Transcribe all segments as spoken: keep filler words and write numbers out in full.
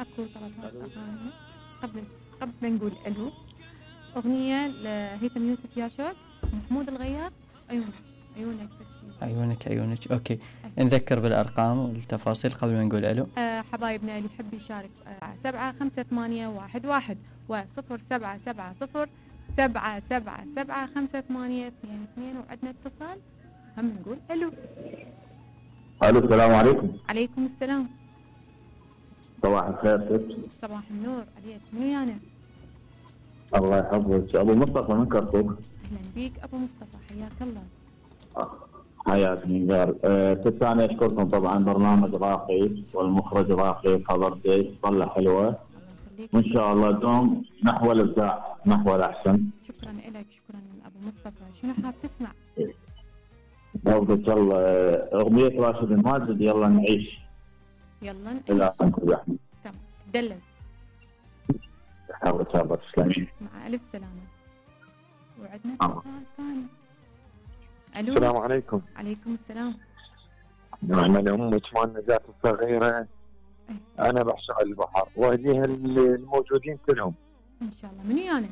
اكو طلبات اغاني قبل قبل ما نقول الو. اغنيه لهيثم يوسف يا شوق، محمود الغياث، عيونك عيونك تكشي. عيونك عيونك. اوكي أه. نذكر بالارقام والتفاصيل قبل ما نقول الو. أه حبايبنا اللي يحب يشارك أه سبعة خمسة ثمانية واحد واحد وصفر سبعة سبعة صفر سبعة سبعة سبعة خمسة ثمانية اثنين اثنين. وعدنا اتصال هم نقول الو. الو السلام عليكم. عليكم السلام. صباح الخير ست. صباح النور عليك. منو يانا؟ الله يحفظك. ابو مصطفى من كركوك. اهلا بيك ابو مصطفى حياك الله. حياك نيجار. ست انا اشكركم طبعا، برنامج راقي والمخرج راقي، خبرتك طلع حلوه وان شاء الله دوم نحو الابداع نحو الاحسن. شكرا لك. شكرا ابو مصطفى. شنو حاب تسمع؟ افضل الله اغنيه راشد الماجد يلا نعيش. يلا نعيش. لا انت يا احمد. تمام تدلل. حاول تسابق تسلمي. مع الف سلامه. وعندنا اتصال ثاني. الو السلام عليكم. عليكم السلام. نعم انا ام عثمان نجاة الصغيره. انا بعشق البحر واهديها الموجودين كلهم ان شاء الله. منو انا؟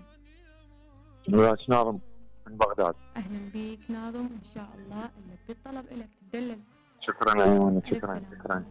نواس ناظم من بغداد. اهلا بيك ناظم ان شاء الله. اللي بالطلب لك تدلل. شكرا عيوني. شكرا شكرا.